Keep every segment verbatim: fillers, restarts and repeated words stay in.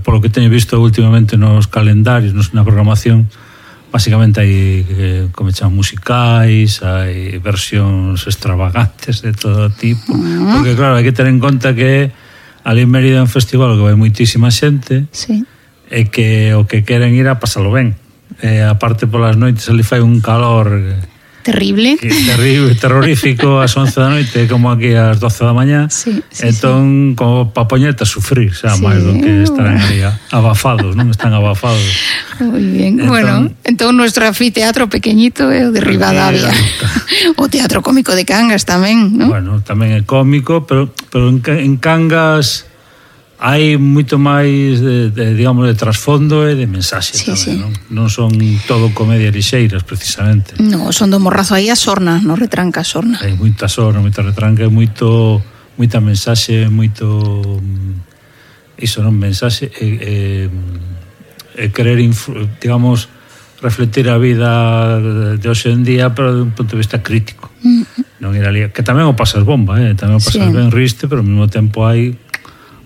polo que teño visto últimamente nos calendarios, nos, na programación, básicamente hai, eh, como chaman, musicais, hai versións extravagantes de todo tipo, uh-huh. porque claro, hai que ter en conta que ali en Mérida é un festival que vai moitísima xente, sí. e que o que queren ir a pasalo ben. E aparte polas noites ali fai un calor terrible, que terrible, terrorífico ás once da noite, como aquí ás doce da mañá. Sí, sí, entón, sí. como pa poñerte a sufrir, xa, sí. máis do que estarán aí abafados, non están abafados. Moi bien, entón, bueno, entón nuestro anfiteatro pequeñito é o de Ribadavia. O Teatro Cómico de Cangas tamén, non? Bueno, tamén é cómico, pero, pero en, en Cangas hai moito máis de, de, digamos, de trasfondo e de mensaxe, sí, tamén, sí. non? Non son todo comedia lixeiras, precisamente. No, son do morrazo aí a sorna, no retranca a sorna. Hai moita sorna, moita retranca, moito, moita mensaxe, moito iso non mensaxe e, e, e querer, digamos, refletir a vida de hoxe en día, pero de un punto de vista crítico. Mm. Non ir ali, que tamén o pasas bomba, eh? tamén o pasas sí. ben riste, pero ao mesmo tempo hai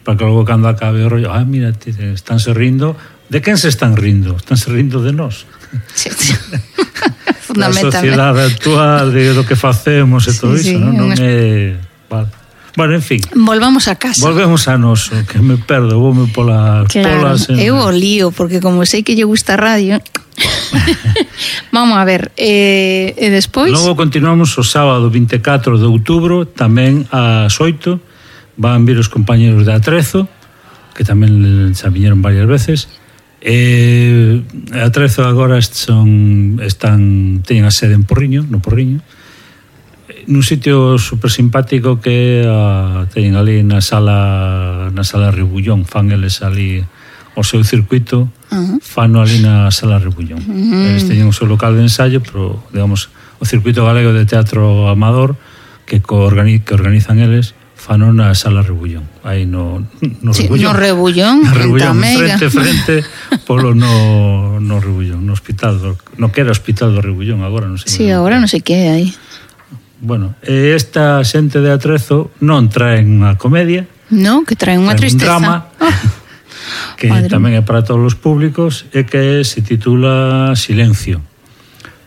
para que logo cando acabe o rollo, ah, mira, estánse rindo. De quen se están rindo? Estánse rindo de nós. Sí, sí. A sociedade actual, de do que facemos e todo sí, iso, sí, non, non é... Vale. Bueno, en fin. Volvamos a casa. Volvemos a noso, que me perdo, voume polas claro, polas... En... eu o lío, porque como sei que lle gusta a radio... Vamos a ver, eh, e despois... Logo continuamos o sábado vinte e catro de outubro, tamén ás oito, van vir os compañeros de Atrezo, que tamén xa viñeron varias veces. E Atrezo agora son, están, teñen a sede en Porriño, no Porriño, nun sitio super simpático que a, teñen ali na sala na sala Rebullón, fan eles ali o seu circuito, uh-huh. fano ali na sala Rebullón. Uh-huh. Eles teñen o seu local de ensayo, pero, digamos, o circuito galego de teatro amador que, organi, que organizan eles, fano na sala Rebullón, aí no, no sí, Rebullón. No Rebullón, no Rebullón, frente, frente, polo no, no Rebullón, no hospital, do, no que era o hospital do Rebullón, agora non sei. Sí, agora non sei que é aí. Bueno, esta xente de Atrezo non traen unha comedia. Non, que traen unha tristeza. Un drama, oh. que Madre. Tamén é para todos os públicos, e que se titula Silencio.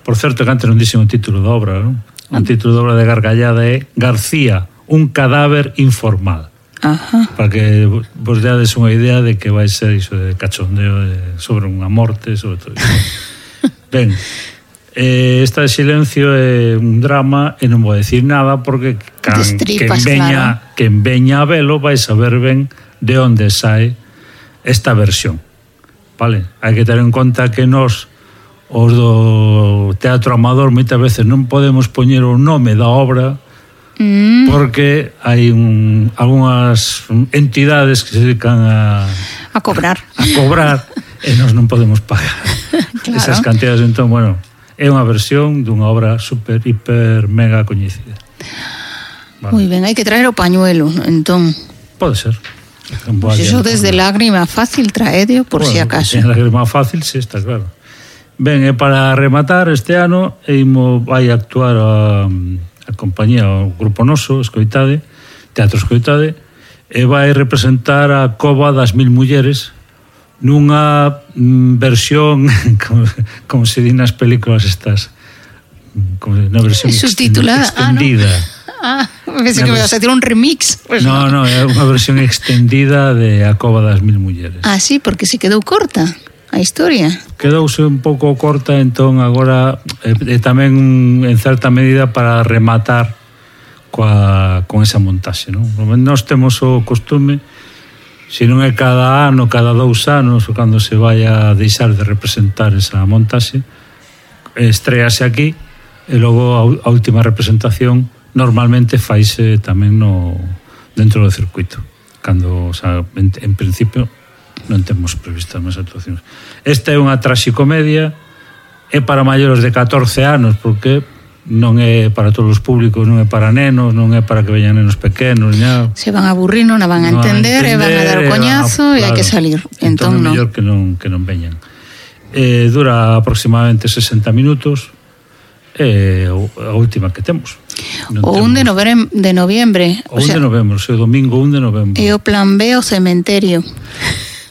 Por certo, que antes non dixen o título da obra, non? O título da obra de gargallada é García, un cadáver informal. Ajá. Para que vos deades unha idea de que vai ser iso de cachondeo de, sobre unha morte, sobre todo iso. Ben, eh, esta de Silencio é un drama e non vou decir nada porque can, Destripas, quen veña, claro. quen veña a velo vai saber ben de onde sae esta versión. Vale? Hai que ter en conta que nós, os do teatro amador, moitas veces non podemos poñer o nome da obra Mm. porque hai un, algunhas entidades que se dedican a a cobrar a, a cobrar e nós non podemos pagar claro. esas cantidades. Entón, bueno, é unha versión dunha obra super, hiper, mega coñecida. Vale. Moi ben, hai que traer o pañuelo, entón pode ser. Pues eso desde lágrima fácil traedio por bueno, si acaso. En lágrima fácil, sí, está claro. Ben, e para rematar este ano Eimo vai actuar a a compañía, o grupo noso, Escoitade, Teatro Escoitade, e vai representar a Cova das Mil Mulleres nunha mm, versión, como, como se di nas películas estas, como na versión subtitulada, extendida. Ah, no. Ah, pensé que me ibas a hacer un remix. Pues no, no, é unha versión extendida de A Cova das Mil Mulleres. Ah, sí, porque se quedou corta a historia. Quedouse un pouco corta, entón agora e, e tamén en certa medida para rematar coa, con esa montaxe, non? Nós temos o costume, se non é cada ano, cada dous anos, ou cando se vai a deixar de representar esa montaxe, estrease aquí e logo a, a última representación normalmente faise tamén no dentro do circuito, cando, o sea, en, en principio non temos previstas máis actuacións. Esta é unha traxicomedia, é para maiores de catorce anos, porque non é para todos os públicos, non é para nenos, non é para que veñan nenos pequenos, xa. Se van a aburrir, non a van a entender, e van a dar o coñazo e hai que salir. Entón, entón é mellor que non, que non veñan. Eh, dura aproximadamente sesenta minutos, é a última que temos. Non o un de, novembro, de noviembre. O un de novembro, o domingo un de novembro. E o plan B, o cementerio.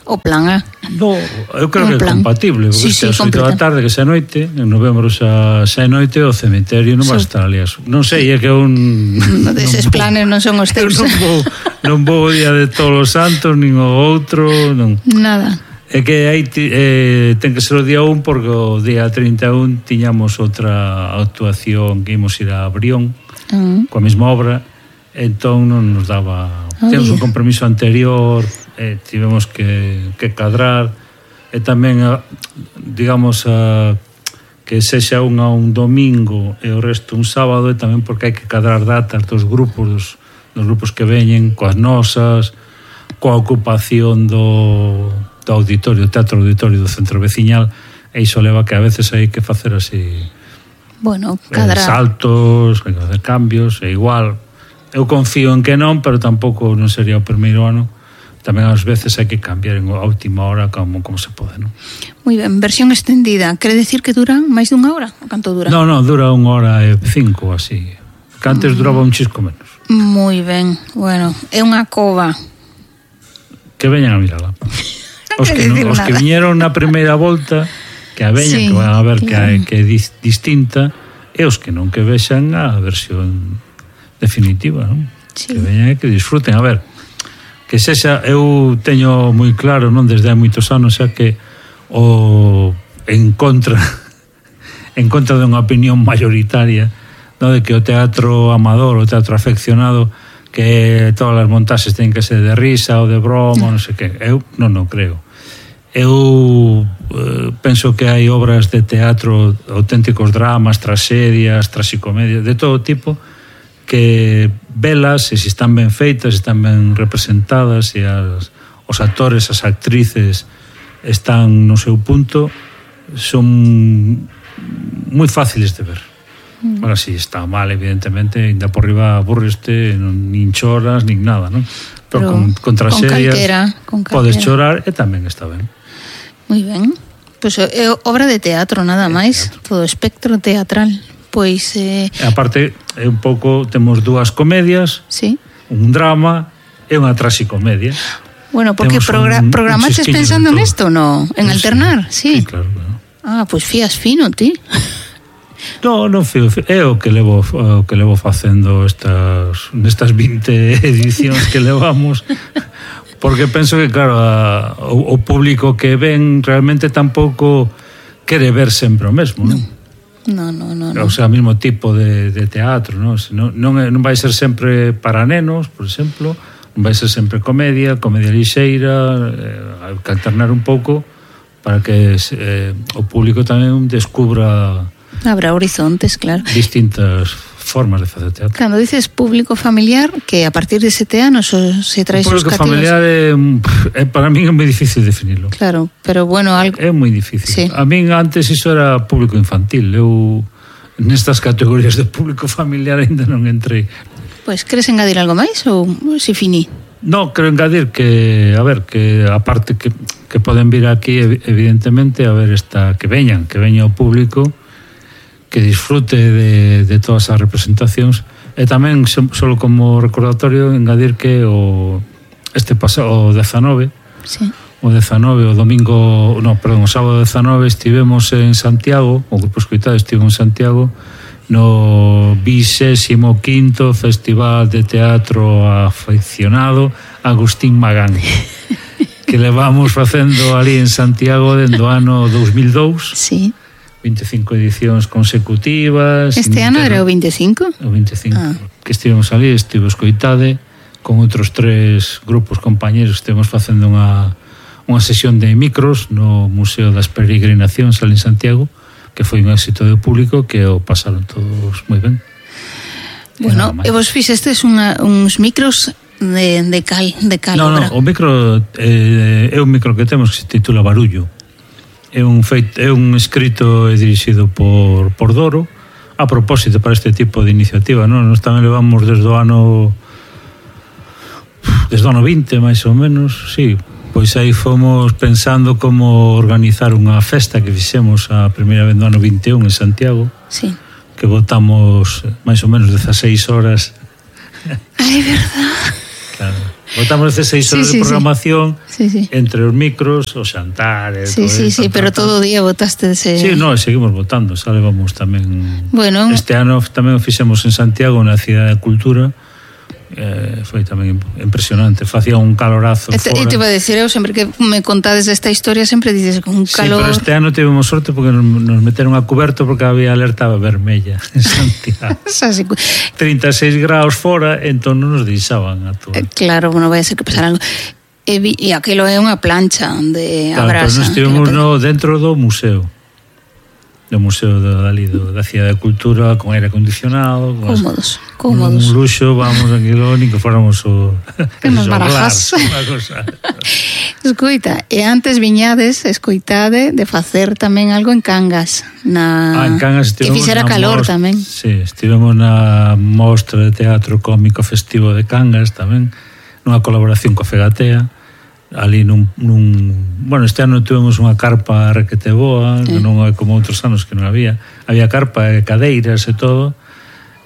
o plan A. No, eu creo que é compatible, porque sí, sí, as oito da tarde que se noite, en novembro xa se noite o cemiterio non va a estar ali. Non sei, é que un no deses planes non son os teus. Non vou, non vou o día de todos os santos, nin o outro, non. Nada. É que aí eh, ten que ser o día un, porque o día trinta e un tiñamos outra actuación que ímos ir a Brión, uh-huh. coa mesma obra, entón non nos daba... Oh, temos un compromiso anterior, eh, tivemos que, que cadrar, e tamén, digamos, a, que sexa unha un domingo e o resto un sábado, e tamén porque hai que cadrar datas dos grupos, dos, dos grupos que veñen, coas nosas, coa ocupación do, do auditorio, do teatro auditorio do centro veciñal, e iso leva que a veces hai que facer así... Bueno, cadrar. Eh, saltos, hai que facer cambios, e igual... Eu confío en que non, pero tampouco non sería o primeiro ano. Tamén ás veces hai que cambiar en a última hora como, como se pode, non? Moi ben, versión extendida. Quere decir que dura máis dunha hora? O canto dura? Non, non, dura unha hora e cinco, así. Que antes mm. duraba un chisco menos. Moi ben, bueno, é unha cova. Que veñan a mirala. Os que, no, os que viñeron na primeira volta, que a veñan, sí, que van a ver claro. que, que é distinta, e os que non que vexan a versión definitiva, non? Sí. Que veñan e que disfruten. A ver, que sexa, eu teño moi claro, non, desde hai moitos anos, xa que o en contra en contra de unha opinión mayoritaria, non, de que o teatro amador, o teatro afeccionado, que todas as montaxes teñen que ser de risa ou de broma, non sei que. Eu non o creo. Eu eh, penso que hai obras de teatro, auténticos dramas, tragedias, tragicomedias, de todo tipo, que velas, e se están ben feitas, se están ben representadas, e as, os actores, as actrices están no seu punto, son moi fáciles de ver. Mm. Ahora si sí, está mal, evidentemente, ainda por riba aburreste, non, nin choras, nin nada, non? Pero, Pero con, con tragedias podes chorar e tamén está ben. Moi ben. Pois pues, é obra de teatro, nada máis, todo espectro teatral. Pois eh... aparte, é un pouco, temos dúas comedias, sí, un drama e unha traxicomedia. Bueno, porque progra un, programaches un pensando nesto, no? En sí, alternar, sí. Sí, claro, claro. Ah, pois fías fino, ti. No, non fío, é o que levo o que levo facendo estas nestas vinte edicións que levamos. Porque penso que, claro, a, o, o público que ven realmente tampouco quere ver sempre o mesmo, non? No. No, no, no, no. O sea, o mismo tipo de, de teatro, non? Non, non, non vai ser sempre para nenos, por exemplo, non vai ser sempre comedia, comedia lixeira, eh, hai que alternar un pouco para que eh, o público tamén descubra... Habrá horizontes, claro. Distintas formas de facer teatro. Cando dices público familiar, que a partir de sete anos se trae sus cativos... O público familiar é, é, para min é moi difícil definirlo. Claro, pero bueno, algo... É moi difícil. Sí. A min antes iso era público infantil. Eu nestas categorías de público familiar ainda non entrei. Pois, pues, queres engadir algo máis ou si finí? No, quero engadir que, a ver, que aparte que, que poden vir aquí, evidentemente, a ver esta, que veñan, que veña o público, que disfrute de, de todas as representacións, e tamén, solo como recordatorio, engadir que o este pasado, o dezanove, sí, o dezanove, o domingo, no, perdón, o sábado dezanove estivemos en Santiago, o grupo escoitado estivo en Santiago, no vigésimo quinto Festival de Teatro Aficionado Agustín Magán, que levamos facendo ali en Santiago dende o ano dos mil dous. Sí. vinte e cinco edicións consecutivas. Este ano era o veinticinco? O veinticinco. Ah. Que estivemos ali, estivo escoitade con outros tres grupos compañeros, estivemos facendo unha, unha sesión de micros no Museo das Peregrinacións ali en Santiago, que foi un éxito do público, que o pasaron todos moi ben. Bueno, e vos fixestes unha, uns micros de, de cal, de cal no, obra? No, o micro eh, é un micro que temos que se titula Barullo. É un feito, é un escrito e dirixido por, por Doro, a propósito para este tipo de iniciativa, non? Nos tamén levamos desde o ano desde o ano vinte, máis ou menos, sí. Pois aí fomos pensando como organizar unha festa que fixemos a primeira vez no ano vinte e un en Santiago. Sí. Que botamos máis ou menos dezaseis horas. Ai, verdad. Claro. Botamos dezasseis horas sí, sí, de programación sí. Sí, sí. entre os micros, os xantares... Sí, sí, sí, pero todo o día botaste ese... Sí, no, seguimos votando, xa levamos tamén... Bueno... Este ano tamén o fixemos en Santiago, na Cidade da Cultura, eh, foi tamén impresionante, facía un calorazo e te, fora. E te iba a decir, eu sempre que me contades esta historia sempre dices con un calor... Sí, pero este ano tivemos sorte porque nos, nos meteron a coberto porque había alerta vermella en Santiago. trinta e seis graus fora, entón non nos deixaban a todo. Eh, claro, non vai a ser que pasara algo. E, vi, e aquilo é unha plancha onde claro, abrasa. Nos estivemos no, dentro do museo. Do Museo da, do, da Cidade da Cultura, con aire acondicionado, con cómodos, as, cómodos. Un luxo, vamos, aquilo, ni que fóramos o... Que nos barajas. Escoita, e antes viñades, escoitade, de facer tamén algo en Cangas. Na... Ah, en Cangas que fixera calor mostra, tamén. Sí, estivemos na mostra de teatro cómico festivo de Cangas tamén, nunha colaboración coa Fegatea, ali nun, nun... Bueno, este ano tuvemos unha carpa requete boa, que non é como outros anos que non había. Había carpa e cadeiras e todo.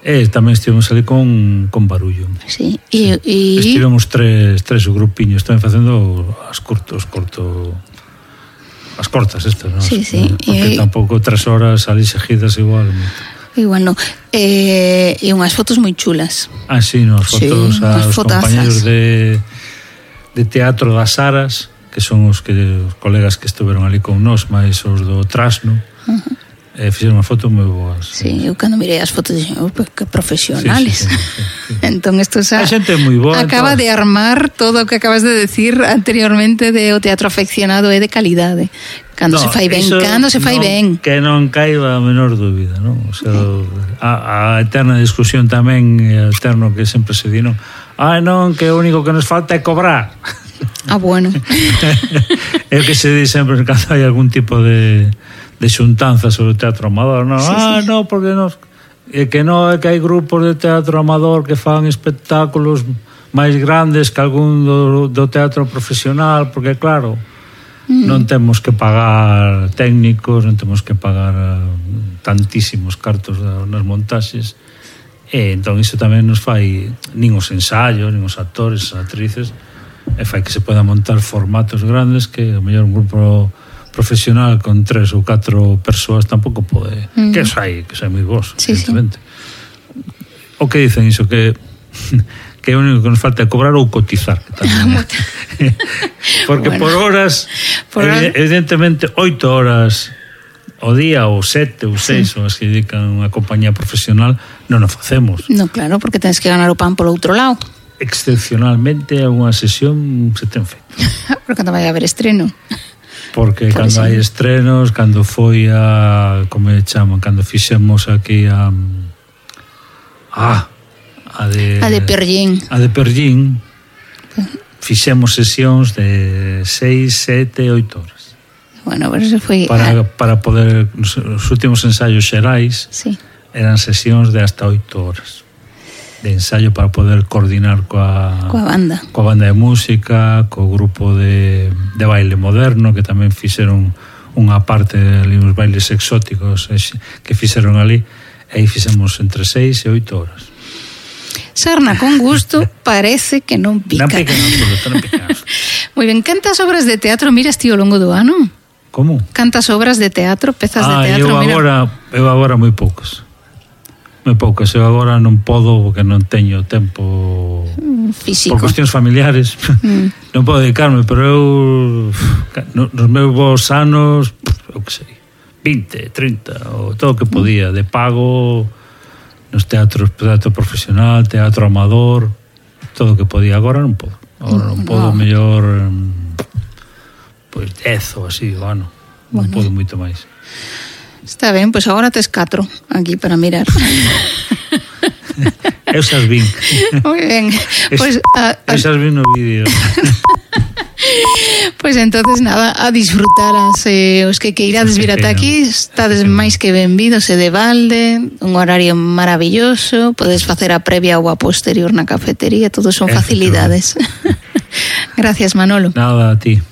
E tamén estivemos ali con, con barullo. Sí. sí. E, e... Estivemos tres, tres grupiños, tamén facendo as cortos, corto... As cortas estas, non? Sí, sí. Porque e... tampouco tres horas ali seguidas igual. Igual non. E, e unhas fotos moi chulas. Ah, sí, no, as fotos sí, aos compañeros de... de Teatro das Aras, que son os que os colegas que estuveron ali con nós, máis os do Trasno, uh-huh. e fixeron unha foto moi boas. Sí, eu cando mirei as fotos dixen, oh, que profesionales. Sí, sí, sí, sí. Entón isto xa a xente moi boa, acaba entón... de armar todo o que acabas de decir anteriormente de o teatro afeccionado é de calidade. Cando no, se fai ben, cando se fai non, ben. Que non caiba a menor dúbida, non? O sea, sí. a, a eterna discusión tamén, o eterno que sempre se di, non? Ah, non, que o único que nos falta é cobrar. Ah, bueno. É o que se di sempre cando hai algún tipo de, de xuntanza sobre o teatro amador, non? Sí, ah, sí. non, porque nos... É que non, é que hai grupos de teatro amador que fan espectáculos máis grandes que algún do, do teatro profesional, porque claro, mm. non temos que pagar técnicos, non temos que pagar tantísimos cartos nas montaxes. E entón iso tamén nos fai nin os ensaios, nin os actores, as actrices, e fai que se poda montar formatos grandes que o mellor un grupo profesional con tres ou catro persoas tampouco pode, mm. que sai, que sai moi vos, sí, evidentemente. Sí. O que dicen iso, que que o único que nos falta é cobrar ou cotizar, que tamén. Porque bueno, por horas, por evidentemente, oito horas o día, ou sete, ou seis, sí. ou as que dedican unha compañía profesional, non o facemos. No, claro, porque tens que ganar o pan polo outro lado. Excepcionalmente, unha sesión se ten feito. Porque cando vai haber estreno. Porque Por cando hai estrenos, cando foi a, como me chaman, cando fixemos aquí a... Ah, a de... A de Perllín. A de Perllín, fixemos sesións de seis, sete, oito horas. Bueno, pero eso foi... Para, para poder... Os últimos ensaios xerais sí. eran sesións de hasta oito horas de ensaio para poder coordinar coa, coa banda coa banda de música, co grupo de, de baile moderno, que tamén fixeron unha parte ali, uns bailes exóticos que fixeron ali, e aí fixemos entre seis e oito horas. Sarna con gusto parece que non pica. Non pica, non pica. Moi ben, cantas obras de teatro miras ti ao longo do ano? Como? Cantas obras de teatro, pezas ah, de teatro? Eu agora, mira... eu agora moi poucas. Moi poucas. Eu agora non podo porque non teño tempo físico. Por cuestións familiares. Mm. Non podo dedicarme, pero eu nos meus anos, eu que sei, vinte, trinta, ou todo o que podía, de pago nos teatros, teatro profesional, teatro amador, todo o que podía. Agora non podo. Agora non podo, no. mellor pois dez ou así, bueno, non bueno. podo moito máis. Está ben, pois agora tes catro aquí para mirar. Eu xas vin. Moi ben. Pois a, a... Eu xas vin no vídeo. Pois entonces nada, a disfrutar as, eh, os que queirades vir ata aquí, estades máis que benvidos e de balde, un horario maravilloso, podes facer a previa ou a posterior na cafetería, todo son facilidades. Gracias, Manolo. Nada, a ti.